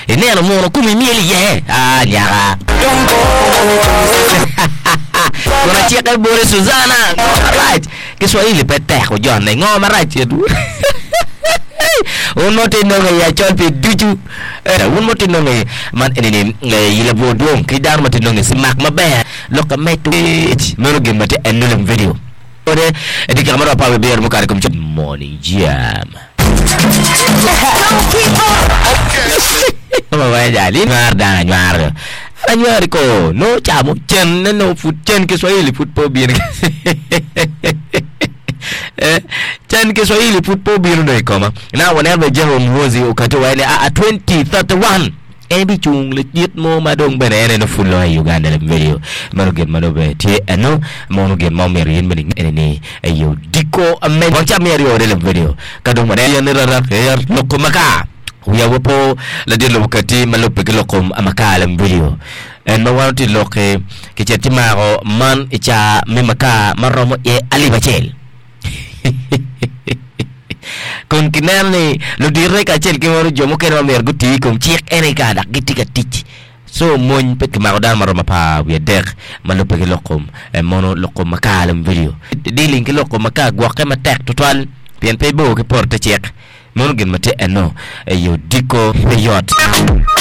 Ineno muno komi myel iye? Aa nyaka. Kun acike boti Suzana, ngo marac? Kiswahili pe tek ojonne, ngo marac citwu? Wun ma wutye nongo i acol pi ducu, wun ma wutye nongo i man eni ni i labwor dwong ki dano ma tye nongo i cimak maber lok ka medo meno gin ma tye eno lem video. Ode i dyekika ma romo apar wiye abiro mukato i kom cen Morning Jam. Anywar dano anywar anywar ko nongo camo cen ne nongo pud cen kiswahili pud pe obino cen kiswahili pud pe obino dong i koma na waneno bene General Muhoozi okati owaco ni aa 2031 En bicung ladit mo ma dong bene en eno pud loyo i Uganda leb medo meno gin ma dong bene tye eno mono gin ma omyero in bene inge ni i odiko me wang ca me aryo leb medo ka dong waneno ni rarak er loko makar wiya wa po ladit lobo kati ma lubbe ki loko makar leb medo en ma wan otye loki kicel ci mako man i ca me makar ma romo iye alip acel. Kun kineno ni ludite kacel ki mono jo mukene ma myero guti i kom cik en aye kare dok gitye ka tic. Co mony pe kimako dano ma romo 13 ma lubbe ki lok kom mono lok kom makar lem vidio. Dealing ki lok kom makar gwokke matek tutwal pien pe ibor ki poto te cik. Meno gin ma tye eno i odiko pe yot.